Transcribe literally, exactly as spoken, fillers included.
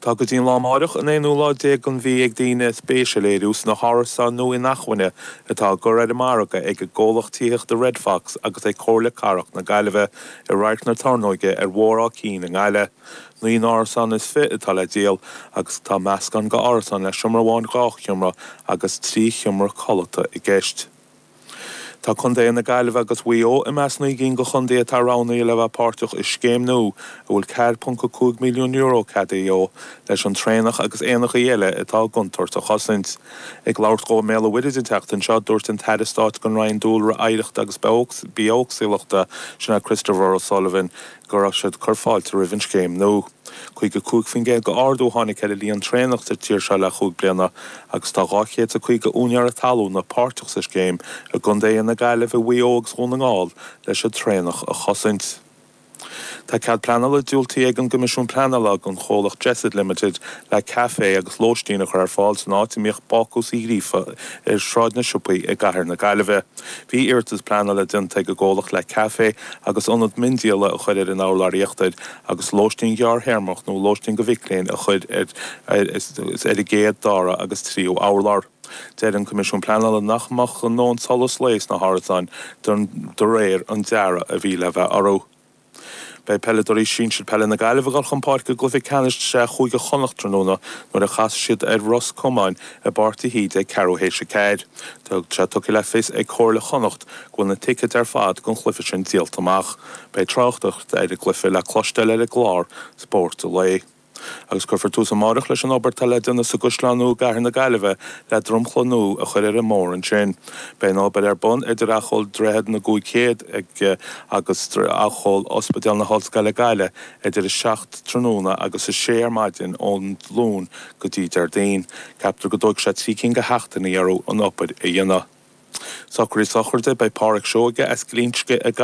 Tá go dtí an lá amáireach an aonú lá déag den mhí ag daoine spéis a léiriú sna hárasáin nua inacmhainne atá á gcur ar an margadh ag an gcomhlacht tithíochta Red Fox agus ag Comhairle Cathrach na Gaillimhe i Radharc na Tornóige ar Bhóthar Áth Cinn i nGaillimh. Naoi n-árasán is fiche atá le díol agus tá meascán d'árasáin le seomra amháin dhá sheomra agus trí sheomra codlata i gceist. Tá Contae na Gaillimhe agus Mhaigh Eo i measc naoi gcinn de chontaetha atá roghnaithe le bheith páirteach i scéim nua a bhfuil ceathair ponc a cúig milliún euro ceadaithe dó leis an traonach agus éanacha eile atá i gcontúirt a chosaint. Ag labhairt dó i mBéal an Mhuirthead an tseachtain seo dúirt an tAire Stáit don Roinn Dúlra Oidhreachta agus Bithéagsúlachta sin é Christopher O'Sullivan go raibh siad ag cur fáilte roimh an scéim nua. Caoga cúig faoin gcéad d'ardú a tháinig ar an líon traonach sa tír seo le chúig bliana agus tá dhá chéad is caoga úinéir talún páirteach sa scéim i gContae na Gaillimhe Mhaigh Eo agus Dhún na nGall leis an traonach a chosaint. Tá cead pleanála diúltaithe ag an gCoimisiún Pleanála don chomhlacht Jessid Limited le caife agus lóistín a chur ar fáil san áit a mbíodh Bácús Uí Ghríofa ar Shráid na Siopaí i gCathair na Gaillimhe. Bhí iarratas pleanála déanta ag an gcomhlacht le caife agus ionad miondíola a chur ar an urlár íochtair agus lóistín ghearrthéarmach nó lóistín do mhic léinn a chur ar ar ar an gcéad dara agus tríú urlár. Deir an Coimisiún Pleanála nach mbeadh a ndóthain solas lae sna hárasáin de réir an dearaidh a bhí le bheith orthu. Beidh peileadóirí sinsir peile na Gaillimhe ag dul chun páirce i gcluiche ceannais sraith Chúige Chonnacht tráthnóna nuair a chasfaidh siad ar Ros Comáin i bPáirc de hÍde ag ceathrú théis a ceathair. Tá sé tugtha le fios ag Comhairle Chonnacht go bhfuil na ticéid ar fad don chluiche sin díolta amach. Beidh tráchtaireacht ar an gcluiche le cloisteáil ar an gclár Spórt an Lae. Agus cuirfear tús amárach leis an obair atá le déanamh sa gCaisleán Nua i gCathair na Gaillimhe le dromchla nua a chur ar an mbóthar ansin. Beidh an obair ar bun idir acomhal Droichead na gCúig Chéad ag agus acomhal Ospidéal na hOllscoile Gaillimh idir a seacht tráthnóna agus a sé ar maidin ón Luan go dtí Déardaoin. Ceaptar go dtógfaidh sé trí cinn de sheachtainí orthu an obair a dhéanamh. Socruithe sochraide beidh Páraic Seoige as Glinsce i